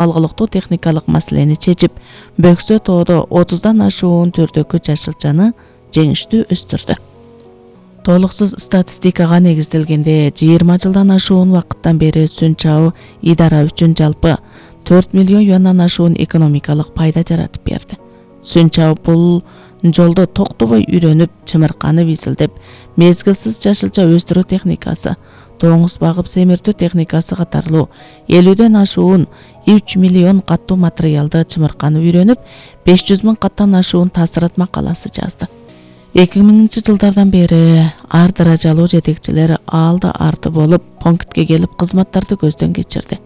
алгылыктуу техникалык маселени чечип, Бөксө тоодо 30дан ашуун түрдөгү жашылчаны жеңиштүү өстүрдү. Толуксуз статистикага негизделгенде 20 жылдан ашуун убакыттан бери Сүнчау идара үчүн жалпы 4 миллион юандан ашуун экономикалык пайда жаратып берди. Сүнчау бул жолдо токтобой үйрөнүп, чымырканып изилдеп, мезгилсиз жашылча өстүрүү техникасы, тоңуз багып семиртүү техникасы катарлуу 50ден ашуун 3 миллион каттуу материалды чымырканып үйрөнүп, 500 миң каттан ашуун таасират макаласы жазды. 2000 жылдардан бери ар даражалуу жетекчилер алды арты болуп, пунктке келип кызматтарды көздөн кечирди.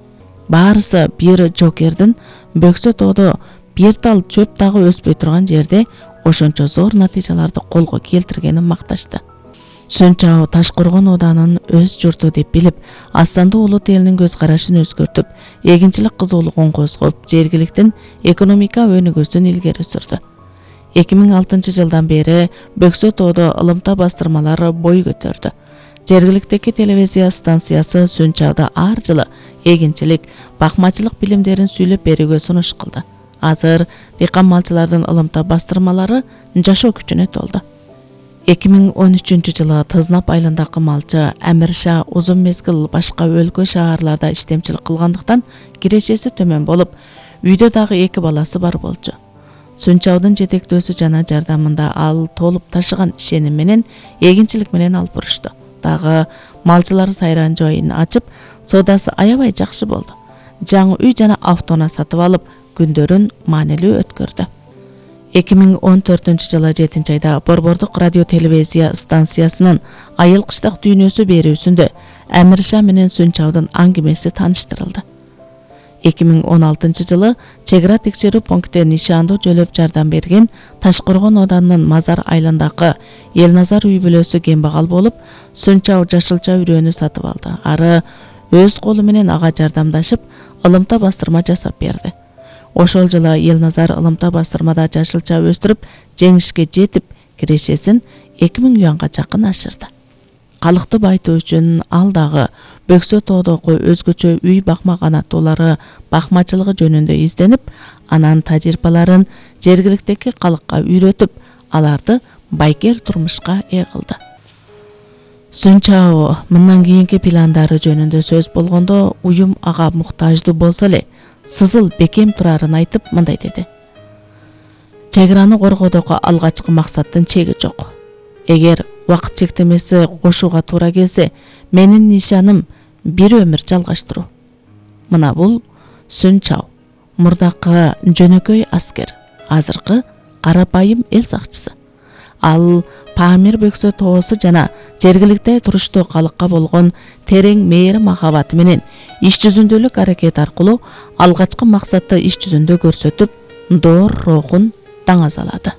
Баарысы бир жокердин Бөксө тоодо бир тал чөп дагы өспөй турган жерде ошончо зор натыйжаларды колго келтиргенин макташты. Сүнчау Ташкоргон оданын өз журту деп билип, Астанды улут элинин көз карашын өзгөртүп, эгинчилик кызуулугун козгоп, жергиликтин экономика өнүгүүсүн илгери сүрдү. 2006 жылдан бери Бөксө тоодо ылымта бастырмалары бой көтөрдү. Жергиликтеги телевизия станциясы Сүнчауда ар жылы эгинчилик, бакмачылык билимдерин сүйлөп берүүгө сунуш кылды. Азыр дыйкан малчылардын ылымта бастырмалары жашоо күчүнө толду. 2013 жылы Тызнап айылындагы малчы Амирша узун мезгил башка өлкө шаарларда иштемчилик кылгандыктан кирешеси төмөн болуп, үйдө дагы 2 баласы бар болчу. Сүнчаудун жетектөөсү жана жардамында ал толуп ташыган ишеним менен эгинчилик менен алып бурушту. Дагы малчылар сайран жайын ачып, соодасы аябай жакшы болду. Жаңы үй жана автоунаа сатып алып, күндөрүн маанилүү өткөрдү. 2014 жылы 7 айда Борбордук радио телевизия станциясынын Айыл кыштак дүйнөсү берүүсүндө Амирша менен Сүнчаудун аңгемеси тааныштырылды. 2016 жылы чек ара текшерүү пунктте нишандуу жөлөп жардам берген Ташкоргон оданынын Мазар айылындагы Элназар үй бүлөсү кембагал болуп, Сүнчау жашылча үрөөнү сатып алды. Ары өз колу менен ага жардамдашып, ылымта бастырма жасап берди. Ошол жылы Элназар ылымта бастырмада жашылча өстүрүп, жеңишке жетип, кирешесин 2000 юанга жакын ашырды. Калыкты байтуу үчүн ал дагы Бөксө тоодогу өзгөчө үй бакмаган аттуулары бакмачылыгы жөнүндө изденип, анан тажрыйбаларын жергиликтеги калыкка үйрөтүп, аларды байкер турмушка ээ кылды. Сүнчау мындан кийинки пландары жөнүндө сөз болгондо, уюм ага муктаждуу болсо эле, сызыл бекем турарын айтып мындай деди. Чек араны коргоодогу алгачкы максаттын чеги жок. Эгер убакыт чектемеси кошууга туура келсе, менин нишаным бир өмүр жалгаштыруу. Мына бул Сүнчау, мурдакы жөнөкөй аскер, азыркы карапайым эл сакчысы. Ал Памир Бөксө тоосу жана жергиликте туруштуу калыкка болгон терең мээрим махабаты менен иш жүзүндөлүк аракет аркылуу алгачкы максатты иш жүзүндө көрсөтүп, доор рухун даңазалады.